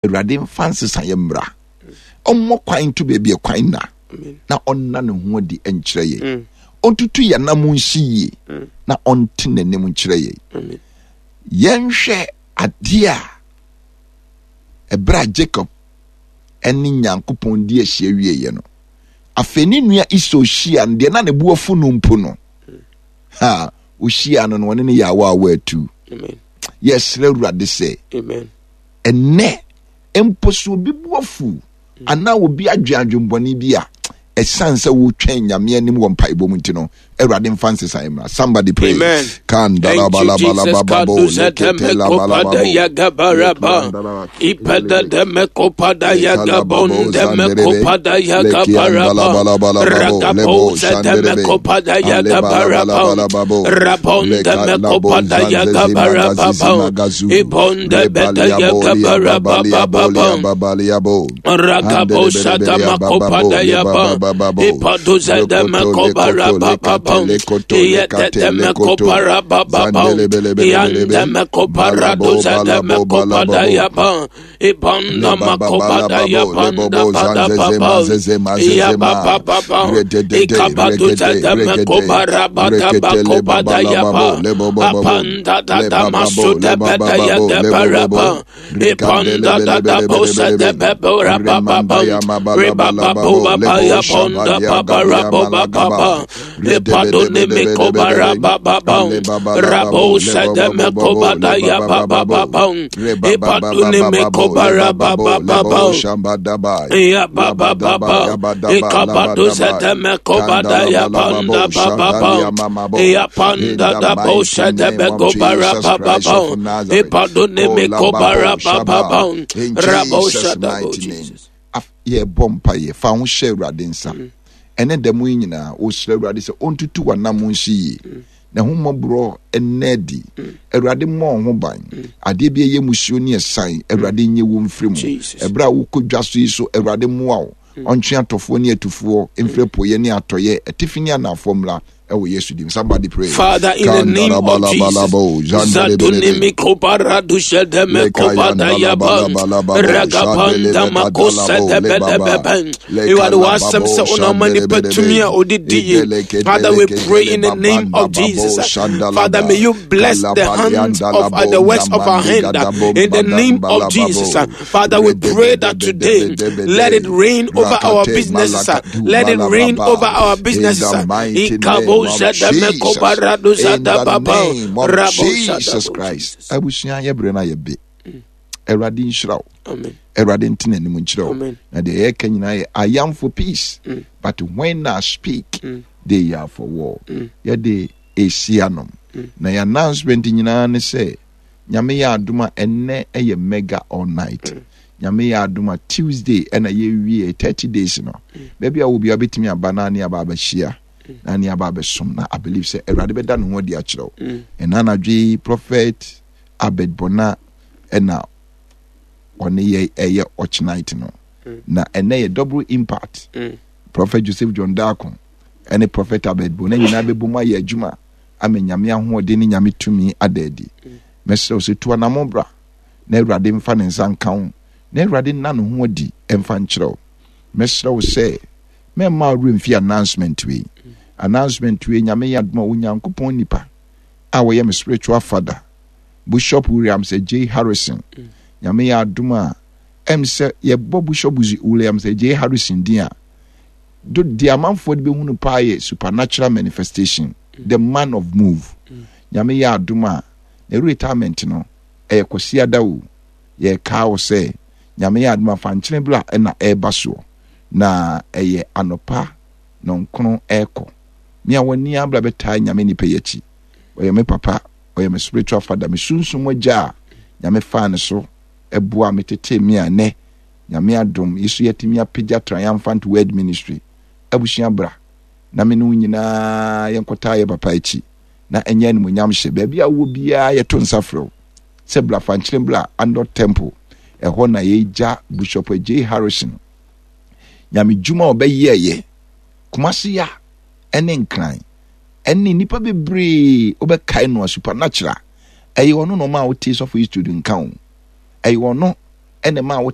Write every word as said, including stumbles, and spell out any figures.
Awurade mfa nsesaeɛ mmra, ɔmmɔ kwan nto baabi a kwan nna, na ɔnna ne ho adi nkyerɛ yɛn. Mm. Ɔntutu yɛn nam nsi yie mm. na ɔnte n'anim nkyerɛ yɛn. Yɛnhwɛ adeɛ a ɛberɛ a Jacob ne Nyankopɔn di ahyia wieeɛ no, afei ne nua Esau hyia no, deɛ na ne bo afu no mpo no, mm. ha, ɔhyia no no, ɔne no yɛ awa awa atu. Yɛsrɛ Awurade sɛ ɛnnɛ mpo sɛ obi bo afu anaa obi adwen adwenbɔne bi a, ɛsiane sɛ wotwɛn Nyame anim wɔ mpaebɔ mu nti no, Awurade mfa nsesaeɛ mmra. Somebody pray. Amen. Thank you, Jesus. Kaduza demekopada yagabaraba. Ipada demekopada yagabon demekopada yagabaraba. Ragabosa demekopada yagabaraba. Rabon demekopada yagabaraba. Ibon debeda yagabaraba. Ragabosa demakopada yaba. Ipaduza demekobaraba. In Jesus' mighty name. Yɛbɔ mpaeɛ fa ho hyɛ Awurade nsa. Ɛne da mu yi nyinaa wosrɛ Awurade sɛ ɔntutu w'anam nsi yie. Na ho mmɔborɔ ɛnnɛ adi. Awurade mmɔ wo ho ban. Adeɛ bi ɛyɛ musuo ne ɛsan, Awurade nye wo mfiri mu. Ɛberɛ a wokɔ dwa so yi so, Awurade mmoa wo. Ɔntwe atɔfoɔ ne atufoɔ mfiri apueɛ ne atɔeɛ, atifi ne anaafoɔ mmra ɛwɔ Yesu dim. Somebody pray. Father, in the name of Jesus, Zaduni mikobara dushe de mekobada yaba ragabanda makosa de bedebeben. You are the wasɛm sɛ wonam nipa tumi a odidi yie. Father, we pray in the name of Jesus. Father, may you bless the hands of uh, the works of our hand in the name of Jesus. Father, we pray that today let it rain over our businesses. Let it rain over our businesses. In the mighty name of Jesus. In the name of Jesus Christ. Abusua yɛ brɛ na yɛ be. Awurade nhyira wo. Awurade ntena anim nkyerɛ wo. Na deɛ yɛka nyinaa yɛ I am for peace. Mm. But when I speak, mm. they are for war. Mm. Yɛde esi anom. Mm. Na yɛ announcement nyinaa ne sɛ Nyame yɛ adom a ɛnnɛ ɛyɛ mega all night. Mm. Nyame yɛ adom a Tuesday ɛna yɛwie thirty days no. Mm. Baabi a wɔ biara bɛtumi aba na ne aba abɛhyia na ne aba abɛsom na I believe sɛ Awurade bɛda ne ho adi akyerɛ wo. Mm. Ɛna anadwo yi Prophet Abed Bona ɛna ɔne yɛ ɛyɛ ɔkye night no. Mm. Na ɛnɛ yɛ double impact. Mm. Prophet Joseph John Darko ɛne Prophet Abed Bona nyinaa bɛbom ayɛ adwuma ama Nyame ahoɔden ne Nyame tumi ada adi. Mɛsrɛ wo sɛ tu anammɔn bra na Awurade mfa ne nsa nka wo na Awurade nna ne ho adi mfa nkyerɛ wo. Mɛsrɛ wo sɛ mɛmma wo werɛ mfi announcement wei. Announcement wei, Nyame yɛ adom a Onyankopɔn nipa a wɔyɛ me spiritual father, Bishop Williams Adjei Harrison. Nyame yɛ adom a ɛm sɛ yɛbɔ Bishop Williams Adjei Harrison din a, do deɛ amanfoɔ de bɛhu no paa yɛ supernatural manifestation, the man of move. Nyame yɛ adom a ne retirement no ɛyɛ Kwasiada o. Yɛkaa wo sɛ Nyame yɛ adom a fa nkyene bra ɛna ɛreba soɔ na ɛyɛ anɔpa nɔnkron ɛrekɔ. Me a w'ani abra bɛtaa Nyame nipa yi akyi. Ɔyɛ me papa, ɔyɛ me spiritual father, me sunsum agya a Nyame faa ne so ɛboa me tetee me a ɛnɛ Nyame adom yi so yɛatumi apagya Triumphant Word Ministry. Abusua bra na me ne wo nyinaa yɛnkɔtaa yɛ papa akyi na ɛnyɛ animuonyam hyɛ. Baabi a wowɔ biara yɛto nsa frɛ wo sɛ bra Fankyerem bra Andor Temple. Ɛhɔ na yɛgya Bishop Adjei Harrison Nyame dwuma a ɔbɛyɛɛyɛ Kumasi ya ɛne Nkran ɛne nnipa bebree wobɛkae no a supernatural. Ɛyɛ ɔno na ɔma a wotee sɔfo Eastwood nka o. Ɛyɛ ɔno Ɛna ma wote